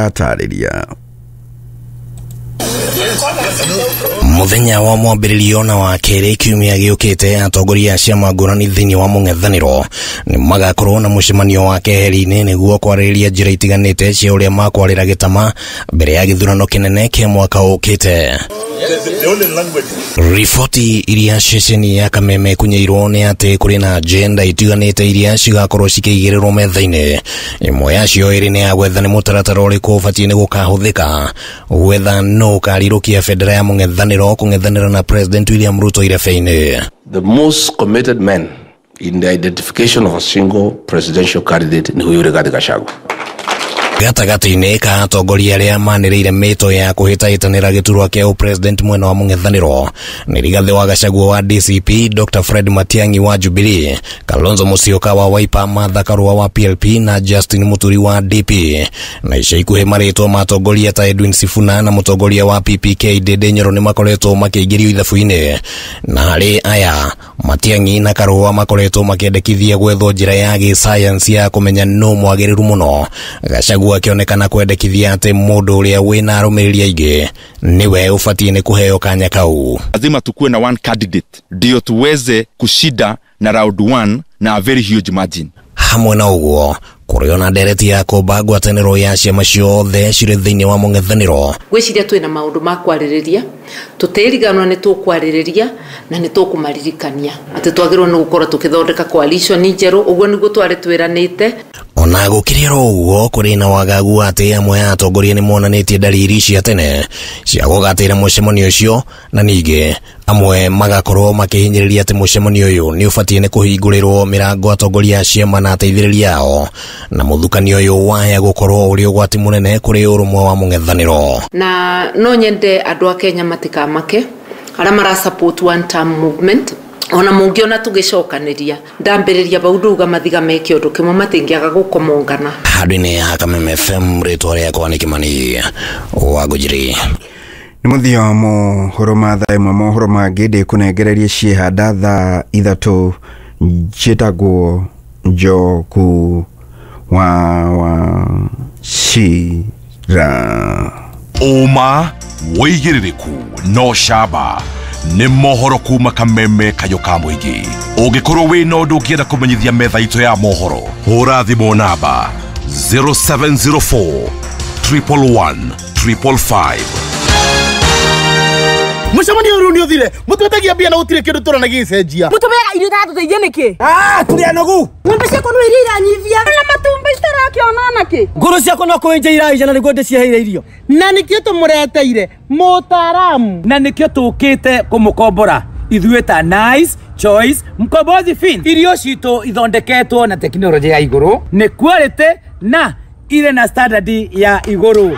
Ĩratarĩria. Muthenya wa mwambĩrĩrio na wa kerĩ kiumia gĩũkĩte, atongoria a ciama ngũrani thĩinĩ wa mũng'ethanĩro nĩ magakorwo na mũcemanio wa keheri-inĩ nĩguo kwarĩrĩria njĩra itiganĩte cia ũrĩa makwarĩra gĩtama mbere ya gĩthurano kĩnene kĩa mwaka ũkĩte. Riboti iria ceceni ya Kameme ĩkunyĩirwo nĩ atĩ kũrĩ na agenda itiganĩte iria cigakorwo cikĩigĩrĩrwo metha-inĩ. Ĩmwe yacio ĩrĩ nĩ ya gwetha nĩ mũtaratara ũrĩkũ ũbatiĩ nĩ gũkahũthĩka gwetha nũ ũkarirũkia bendera ya mũng'ethanĩro kũng'ethanĩra na President William Ruto irebe-inĩ. The most committed man in the identification of a single presidential candidate ni huyu Rigathi Gachagua. Gatagatĩ-inĩ ka atongoria arĩa manĩrĩire mĩto ya kũhĩtahĩtanĩra gĩturwa kĩa ũpresident mwena wa mũng'ethanĩro nĩ Rigathĩ wa Gachagua wa DCP, Dr. Fred Matiang'i wa Jubilee, Kalonzo Musyoka wa Wiper, Martha Karua wa PLP na Justin Muturi wa DP. Na ica ikuhĩ marĩtwa ma atongoria ta Edwin Sifuna na mũtongoria wa PPK Ndindi Nyoro nĩ makoretwo makĩingĩrio ithabu-inĩ. Na harĩ aya, Matiang'i na Karua makoretwo makĩendekithia gwethwo njĩra ya gĩsayansi ya kũmenya nũ mwagĩrĩru mũno. Gachagua akĩonekana kwendekithia atĩ mũndũ ũrĩa wĩna arũmĩrĩri aingĩ nĩwe ũbatiĩ nĩ kũheo kanya kau. Lazima tukuwe na one candidate ndio tuweze kushinda na round one na a very huge margin. Hamwe na ũguo, kũrĩ ona ndereti ya kũmba ngwatanĩro ya ciama ciothe cirĩ thĩinĩ wa mũng'ethanĩro. Ngwĩciria twĩna maũndũ ma kwarĩrĩria, tũtĩriganwo nĩ tũkwarĩrĩria na nĩ tũkũmaririkania atĩ twagĩrĩirwo nĩ gũkorwo tũkĩthondeka coalition njerũ, ũguo nĩguo twarĩ twĩranĩte. Ona gũkĩrĩ oro ũguo, kũrĩ na wagagu atĩ amwe a atongoria nĩ monanĩtie ndariri cia tene cia gũgatĩra mũcemanio ũcio, na ningĩ amwe magakorwo makĩhinyĩrĩria atĩ mũcemanio ũyũ nĩ ũbatiĩ nĩ kũhingũrĩrwo mĩrango atongoria a ciama na ateithĩrĩria ao, na mũthukanio ũyũ waya gũkorwo ũrĩ ũgwati mũnene kũrĩ ũrũmwe wa mũng'ethanĩro. Na no nyende andũ a Kenya matikamake arĩa mara support one term movement, ona mũngĩona tũgĩcokanĩria ndambĩrĩria bau ndauga mathiga meke ũndũ kĩmwe matingĩaga gũkomongana. Handũ-inĩ ha Kameme FM, rĩtwa rĩakwa nĩ Kĩmani wa Ngũnjiri. Nĩ mũthia wa mohoro ma thaa ĩmwe. Mohoro mangĩ ndĩkũnengererie ciĩhanda thaa 3 njĩtagwo Njogu wa Wachira. Ũma wĩigĩrĩrĩku no camba nĩ mohoro kuma Kameme kayo ka mũingĩ. Ũngĩkorwo wĩna ũndũ ũngĩenda kũmenyithia metha itũ ya mohoro, hũra thimũ namba 0704 111 555. Mũcemanio ũyũ nĩ ũthire, mũtwetagia mbia na gũtirĩ kĩndũ tũrona gĩgĩcenjia. Mũtũmeaga irio itatũteithia nĩkĩ? Tũrĩ anogu. Ng'ombe ciakwa no iria iranyivia. Na matumbĩ citarakĩona nakĩ? Ngũrũ ciakwa no kũenja iraija na nĩguo ndĩciheire irio. Na nĩkĩo tũmũreteire mũtaaramu. Na nĩkĩo tũkĩte kũmũkombora ithuĩ ta Nice Choice Mkombozi Fin. Irio citũ ithondeketwo na tekinoronjĩ ya igũrũ, nĩ quality na irĩ na standard ya igũrũ.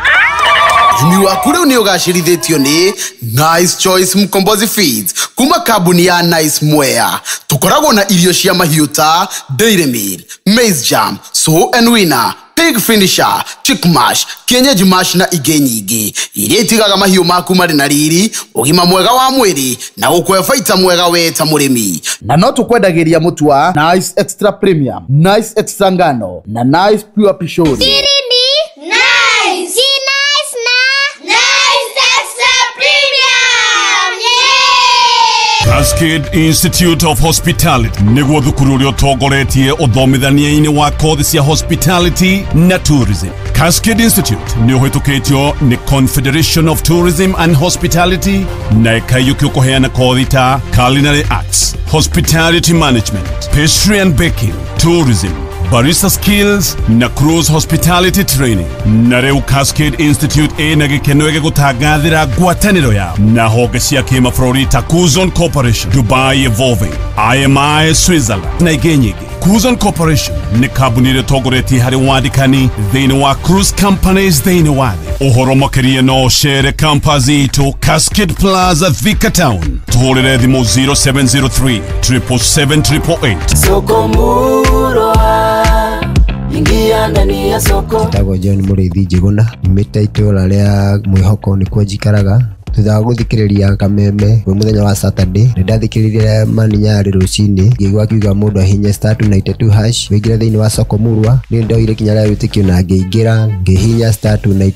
Ũrĩmi waku rĩu nĩ ũgacĩrithĩtio nĩ Nice Choice Mkombozi Feeds kuma kambuni ya Nice Mwea. Tũkoragwo na irio cia mahiũ ta Dairy Meal, Maize Jam, Sow and Winner, Pig Finisher, Chick Mash, Kienyeji Mash na ingĩ nyingĩ iria itigaga mahiũ maku marĩ na riri, ũgima mwega wa mwĩrĩ na gũkũhe baita mwega we ta mũrĩmi. Na no tũkwendagĩria mũtu wa Nice Extra Premium, Nice Extra Ngano na Nice Pure Pishori. Siri ni Nice. Si Nice na Nice Extra Premium. Yeah! Cascade Institute of Hospitality nĩguo thukuru ũrĩa ũtongoretie ũthomithania-inĩ wa kothi cia hospitality na tourism. Cascade Institute nĩ ũhĩtũkĩtio nĩ Confederation of Tourism and Hospitality na ĩkaiyũkio kũheana kothi ta culinary arts, hospitality management, pastry and baking, tourism, barista skills na cruise hospitality training. Na rĩu Cascade Institute ĩna gĩkeno gĩgũtangathĩra ngwatanĩro yao na honge cia kĩmabũrũri ta Kuzon Corporation, Dubai Evolving, IMI Switzerland na ingĩ nyingĩ. Kuzon Corporation nĩ kambuni ĩrĩa ĩtongoretie harĩ wandĩkani thĩinĩ wa cruise companies thĩinĩ wa thĩ. Ũhoro makĩria no ũcere campus itũ Cascade Plaza, Thika Town. Tũhũrĩre thimũ 0703 777 888. Soko murwa, ingia ndani ya soko. Njĩtagwo John Mũrĩithi Njĩgũna, nyumĩte itũũra rĩa Mwĩhoko nĩkuo njikaraga. Thutha wa gũthikĩrĩria kameme kwĩ mũthenya wa Saturday, nĩ ndathikĩrĩirie Mani Nyarĩ rũcinĩ, ngĩigua akiuga mũndũ ahinye *292 hash wĩingĩre thĩinĩ wa soko murwa. Niĩ ndoire ikinya rĩa wĩtĩkio na ngĩingĩra ngĩhihinya *292